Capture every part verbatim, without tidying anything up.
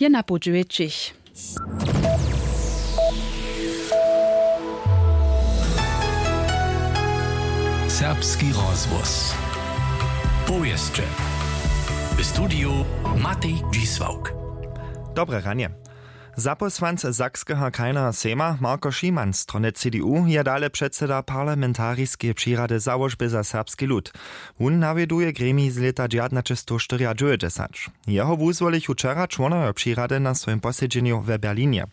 Je na poł dźewjećich. Serbski rozhłos. Powěsće. W studiju Matej Dźisławk. Dobre ranje. Zapósłanc Sakskeho krajneho sejma Marko Šiman strony C D U je dale předseda parlamentariskeje přirady Załožby za serbski lud. Wón nawjeduje gremij z lěta dźewjatnaćestowštyriadźewjećdźesat. Jeho wuzwolichu wčera čłonojo přirady na swojim posedźenju w Berlinje.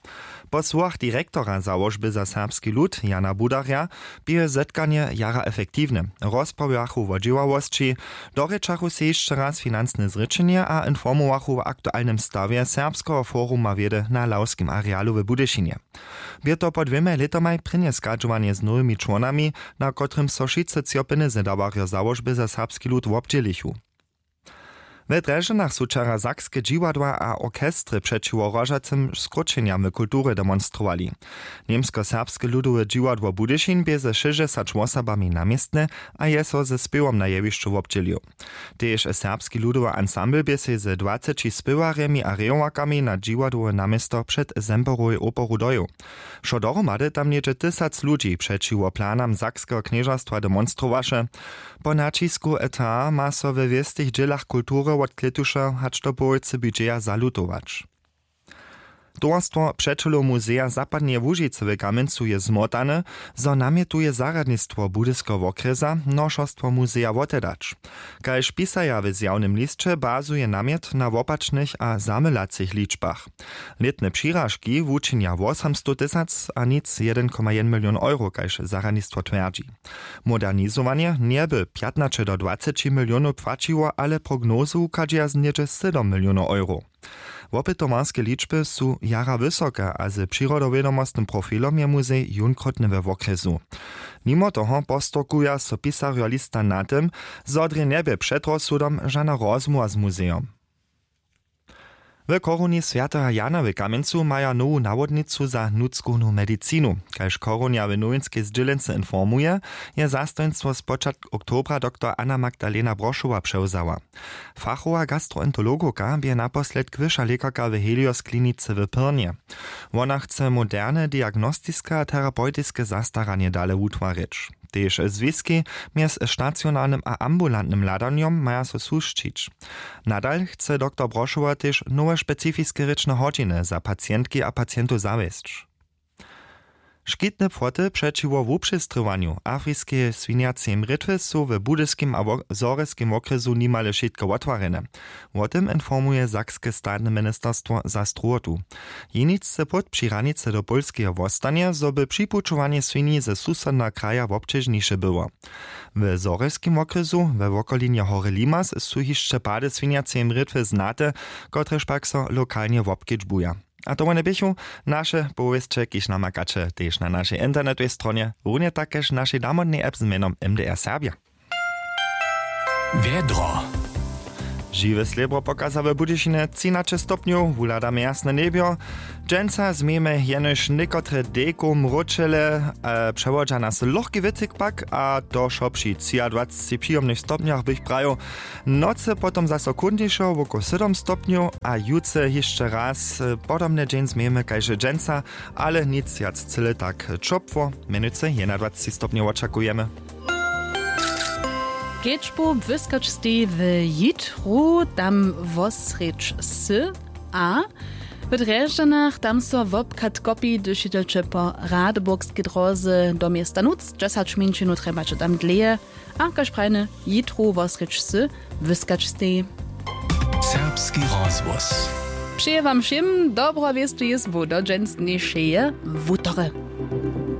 Po słowach direktora Załožby za serbski lud Jana Budarja bě zetkanje jara efektiwne. Rozprawjachu wo dźěławosći, dorěčachu sej hišće raz financne zrěčenje a informowachu wo aktualnym stawje Serbskeho foruma wědy na Lawskim arealu w Budyšinje. Bě to po dwěmaj lětomaj prěnje schadźowanje z nowymi čłonami, na kotrymž so wšitcy třopiny zedawarjo Załožby za serbski lud wobdźělichu. We Drježdźanach su wčera sakske dźiwadła a orchestry přećiwo hrožacym skróčenjam w kulturje demonstrowali. Němskoserbske ludowe dźiwadło Budyšin bě ze šěsćdźesać wosobami na městnje a je so ze spěwom na jewišću wobdźělił. Tež serbski ludowy ansambl bě sej ze dwaceći spěwarjemi a rejowakami na dźiwadłowe naměsto před Semperowej operu dojěł. Wšo dohromady tam něhdźe tysac ludźi přećiwo planam Sakskeho knježerstwa demonstrowaše. Po naćisku eta ma so we wěstych dźělach kultury wot klětuša hač do połojcy budźeja zalutować. Towarstwo přećelow muzeja zapadneje łužicy w kamjencu je zmotane, zo namjetuje zarjadnistwo budyskeho wokrjesa nošerstwo muzeja wotedać. Kaž pisaja w zjawnym lisće, bazuje namjet na wopačnych a zamylacych ličbach. Lětne přiražki wučinja wosomstow tysac a nic jedyn koma jedyn milion euro, kaž zarjadnistwo twjerdźi. Modernizowanje njeby pjatnaće do dwaceći milionow płaćiło, ale prognozy wuchadźeja z něhdźe sydom milionow euro. Wopytowarske ličby su jara wysoke a z přirodowědomostnym profilom je muzej jónkrótny we wokrjesu. Nimo toho postorkuja so pisarjo lista na tym, zo drje njebě před rozsudom žana rozmołwa z muzejom. W chorowni swjateho Jana w kamjencu maja nowu nawodnicu za nutřkownu medicinu. Kaž chorownja w nowinskej zdźělency informuje, je zastojnstwo spočatk oktobra doktor Anna Magdalena Brošowa přewzała. Fachowa gastroenterologowka bě naposledk wyša lěkarka w Helios klinicy w Pyrnje. Wona chce moderne diagnostiske a terapeutiske zastaranje dale wutwarić. Tež zwiski mjez stacionarnym a ambulantnym hladanjom maja so susćić. Nadal chce doktor Brošowa tež nowe specifiske rěčne hodźiny za pacientki a pacientow zawjesć. Škitne płoty přećiwo wupřestrěwanju afriskeje swinjaceje mrětwy su w budyskim a wo-, zhorjelskim wokrjesu nimale wšitke wotwarjene. Wo tym informuje sakske statne ministerstwo za strowotu. Jeničce płot při hranicy do Pólskeje wostanje, zo by připućowanje swinji ze susodneho kraja wobćežniše było. W zhorjelskim wokrjesu we wokolinje hory Limass su hišće pady swinjaceje mrětwy znate, kotrež pak so lokalnje wobkedźbuja. A to wone běchu naše powěsće, kiž namakaće tež na našej internetowej stronje, runje tak kaž našej damodnej app z mjenom M D R Serbja. Wjedro. Žiwe slěbro pokaza w Budyšinje třinaće stopnjow, wuhladamy jasne njebjo. Dźensa změjemy jenož někotre dejkow mróčele, e, přewodźa nas lochki wětrik pak, a to wšo při třiadwaceći přijomnych stopnjach bych prajił. Nocy potom zaso chłódnišo wokoło sydom stopnjow a jutře hišće raz, e, podobny dźeń změjemy kaž dźensa, ale nic wjac cyle tak ćopło, mjenujcy jedynadwaceći stopnjow wočakujemy. Kedźbu błyskaćstej w jitru, tam wosrjedź sy, a w Drježdźanach tam so wobchad kopi, hdyž jědźeće po Radburgskej dróze do města Nutř, dźesać mjeńšinow trjebaće tam dlěje, a kaž prajne, jitru wosrjedź sy, błyskaćstej. Serbski rozhłos. Přeje wam wšěm dobro wěstu jězbu do dźensnjejšeje wutory.